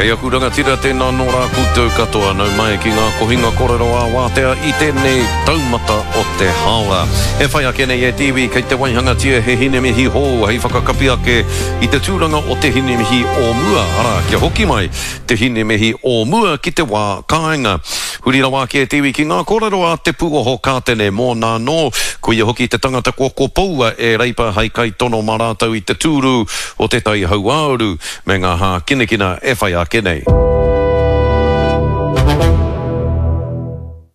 Kei aku rangatira tēnā nō rā koutou katoa nau mai ki ngā kohinga korero ā-wātea i tēnei taumata o te haora. E whai ake nei e te iwi kei te waihangatia he hinemihi hou hei whakakapi ake i te tūranga o te hinemihi o mua, arā, kia hoki mai te hinemihi o mua ki te wā kāinga. Huri rawa ake e te iwi ki ngā kōrero a Te Pūoho Kātene mōna anō, koia hoki te tangata kua kopoua e Reipa hei kaitono mā rātou i te tūru o Te Tai Hauāuru me ngā hākinakina e whai ake nei.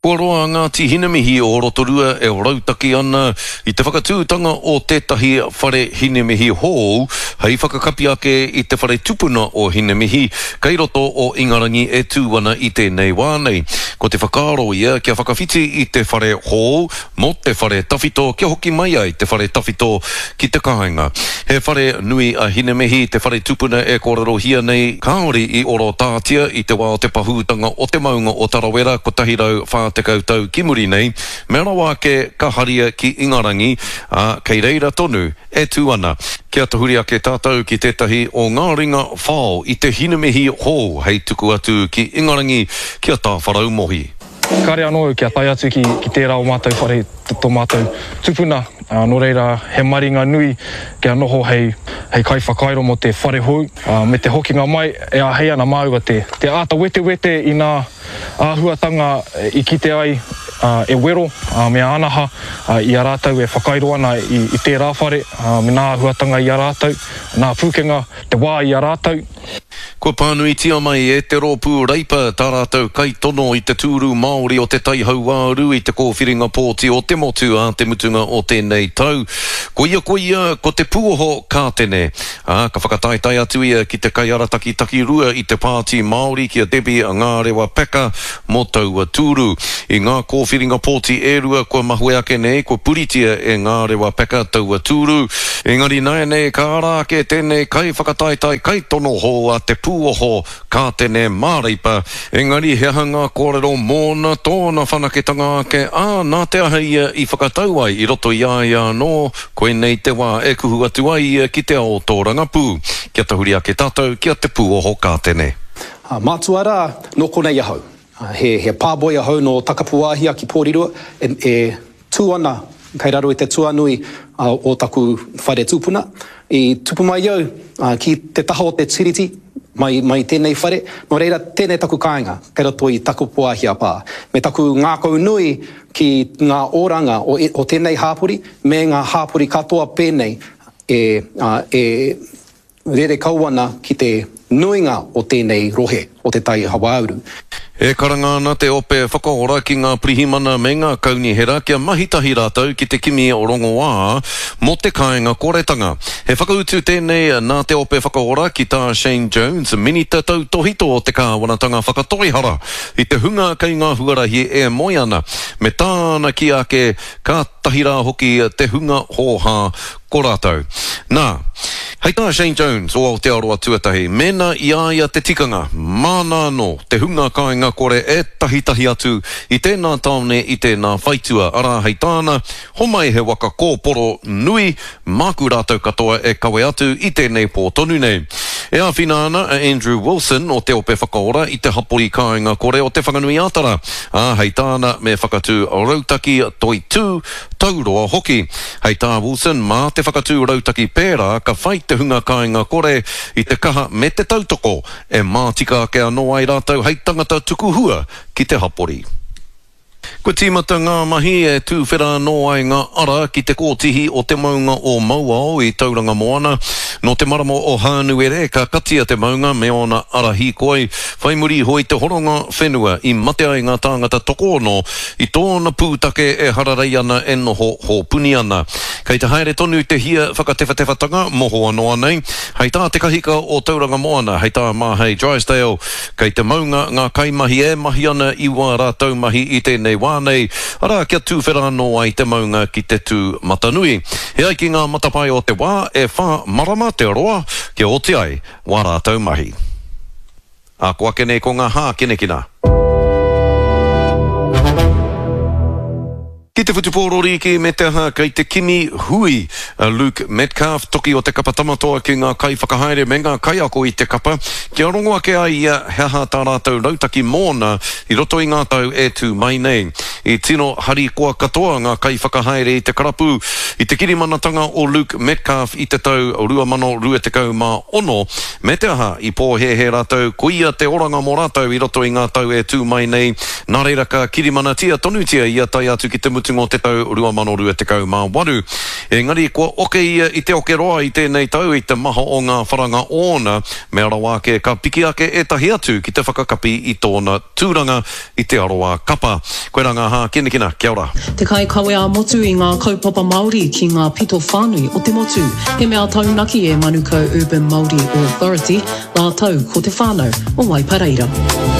Kua roa a Ngāti Hinemihi o Rotorua e rautaki ana i te whakatūtanga o tētahi whare hinemihi hou hei whakakapi ake i te whare tupuna o Hinemihi kei roto o Ingarangi e tū ana i tēnei wā nei. Ko te whakaaro ia kia whakawhiti i te whare hou mō te whare tawhito kia hoki mai ai te whare tawhito ki te kāinga. He whare nui a Hinemihi, te whare tupuna e kōrerohia nei, kāore i orotātia i te wā o te pahūtanga o te maunga o Tarawera 140 tau ki muri nei, mea rawa ake ka haria ki Ingarangi, ā, kei reira tonu e tū ana. Kia tahuri ake tātou ki tētahi o ngā ringa whao i te Hinemihi hou hei tuku atu ki Ingarangi ki a Tāwharau Mohi. Kāre anō au kia tae atu ki tērā o mātou whare, tō mātou tupuna, nō reira he maringa nui kia noho hei kaiwhakairo mō te whare hou, me te hokinga mai e āhei ana māua te āta wetewete i ngā āhuatanga i kite ai e Wero me Ānaha i a rātou e whakairo ana i tērā whare, me ngā āhuatanga i a rātou, ngā pūkenga, te wā i a rātou. Kua pānuitia mai e te Rōpū Reipa tā rātou kaitono i te tūru Māori o Te Tai Hauāuru i te kōwhiringa pōti o te motu ā te mutunga o tēnei tau. Koia koia ko Te Puoho Kātene, ā, ka whakataetae atu ia ki te kaiarataki takirua i te Pāti Māori ki a Debbie Ngārewa Peka mō taua tūru. I ngā kōwhiringa pōti e rua kua mahue ake nei, kua puritia e Ngārewa Peka taua tūru. Engari nāianei ka ara ake tēnei kaiwhakataetae kaitono hou a Te Pūoho Kātene Māreipa, engari he aha ngā kōrero mōna, tōna whanaketanga ake, ā, nā te aha ia i whakatau ai i roto i a ia anō, koinei te wā e kuhu atu ai ia ki te ao tōrangapū. Kia tahuri ake tātou ki a Te Pūoho Kātene. Mātua rā, nō konei ahau. He, he pāboi ahau nō Takapuāhia ki Pōrirua, e, e tū ana kei raro i te tuanui o taku whare tūpuna. I tupu mai au ki te taha o te tiriti mai, mai tēnei whare, nō reira tēnei taku kāinga kei roto i Takapuāhia pā. Me taku ngākau nui ki ngā oranga o, o tēnei hāpori me ngā hāpori katoa pēnei e, e, Rere kau ana ki te nuinga o tēnei rohe o Te Tai Hauāuru. E karanga ana te Ope Whakaora ki ngā pirihimana me ngā kaunihera kia mahi tahi rātou ki te kimi rongoā mō te kāinga koretanga. He whakautu tēnei nā te Ope Whakaora ki tā Shane Jones, Minita Tautōhito o te Kāwanatanga Whakatoihara i te hunga kei ngā huarahi e moe ana, me tāna kī ake kātahi rā hoki te hunga hōhā Ko rātou. Nā, hei tā Shane Jones o Aotearoa Tuatahi, mēnā i a ia te tikanga, māna anō te hunga kāinga kore e tahitahi atu i tēnā tāone i tēnā whaitua, arā, hei tāna, homai he waka kōporo nui, māku rātou katoa e kawe atu i tēnei pō tonu nei. E āwhina ana a Andrew Wilson o Te Ope Whakaora i te hapori kāinga kore o Te Whanganui-ā-Tara, ā, hei tāna me whakatū rautaki toitū, tauroa hoki. Hei tā Wilson, mā te whakatū rautaki pērā ka whai te hunga kāinga kore i te kaha me te tautoko e mātika ake anō ai rātou hei tangata tuku hua ki te hapori. Kua tīmata ngā mahi e tūwhera anō ai ngā ara ki te kōtihi o te maunga o Mauao i Tauranga Moana. Nō te marama o Hānuere ka katia te maunga me ōna ara hīkoi, whai muri iho i te horonga whenua i mate ai ngā tāngata tokoono I tōna pūtake e hararei ana e noho hōpuni ana. Kei te haere tonu te hia whakatewhatewhatanga mohoa noa nei. Hei tā te kahika o Tauranga Moana, hei tā Māhei Drysdale, kei te maunga ngā kaimahi e mahi ana i wā rātou mahi i tēnei wā nei, arā kia tūwhera anō ai te maunga ki te tū matanui. E ai ki ngā matapae o te wā, e whā marama te roa kia oti ai wā rātou mahi. Ā, ko ake nei ko ngā hākinakina. Ki te whutupōro rīki me te aha kei te kimi hui a Luke Metcalf, toki o te kapa Tamatoa ki ngā kaiwhakahaere me ngā kaiako i te kapa kia rongo ake ai ia he aha tā rātou rautaki mōna i roto i ngā tau e tū mai nei. I tino harikoa katoa ngā kaiwhakahaere i te karapu i te kirimanatanga o Luke Metcalf i te tau 2026, me te aha i pōhēhē rātou koia te oranga mō rātou i roto i ngā tau e tū mai nei, Nā reira ka kirimanatia tonutia ia tae atu ki te mutunga o te tau 2028. Engari kua oke ia i te oke roa i tēnei tau i te maha o ngā wharanga ōna, mea rawa ake ka piki ake ētahi atu ki te whakakapi i tōna tūranga i te aroā kapa. Koirā ngā hākinakina, kia ora. Te kaikawe ā-motu i ngā kaupapa Māori ki ngā pito whānui o te motu. He mea taunaki e Manukau Urban Māori Authority rātou ko te whānau o Waipareira.